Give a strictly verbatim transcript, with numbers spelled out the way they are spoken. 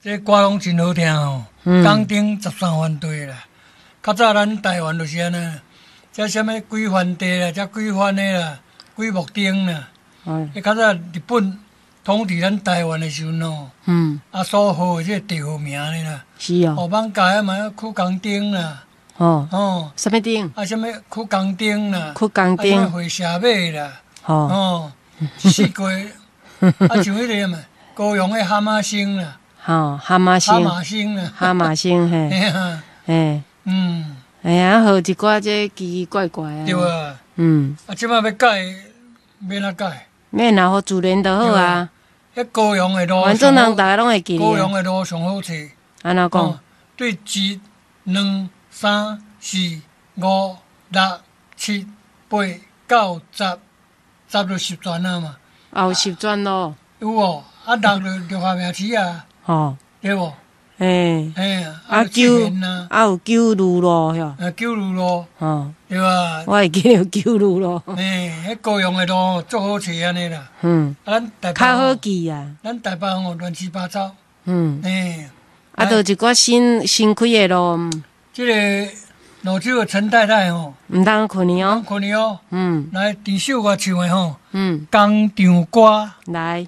這歌攏真好聽吼，嗯港燈十三番地啦。較早咱台灣就是按呢，這啥物幾番地啦，這幾番的啦，幾木燈啦。哦，彼較早日本統治咱台灣的時陣吼，嗯，啊所號的這個地號名呢啦，是哦，哦，艋舺啊嘛有曲江燈啦，哦，哦，啥物燈？啊啥物曲江燈啦，曲江啊啥物燈，火車尾啦，吼，哦，四季，啊像彼個嘛，高雄的蛤蟆星啦，吼，蛤蟆蛤星，蟆星啦，蛤蟆星，嘿，嘿啊，嘿，嗯，哎呀，號一寡這奇奇怪怪啊，對啊，嗯，啊這擺欲改，欲按怎改？免啦，予自然就好啊，彼高雄的路，反正人逐家攏會記高得。雄的路上好揣。按怎講？哦，對一、兩、三、四、五、六、七、八、九、十，十就十全啊嘛。啊有十全路，有無？啊，六就六合名市啊，吼，對無？嘿，嘿，啊九九，啊，啊有九如路，遐，啊九如路，吼，對吧？我會記得有九如路，嘿，彼高雄的路足好揣按呢啦。嗯，啊，咱台北較好記啊，咱台北吼亂七八糟，嗯，嘿，啊，就一寡新新開的路，這个蘆洲的陳太太吼，毋通睏去哦，睏去哦，嗯來鄭秀我唱的吼，嗯，工廠歌。來。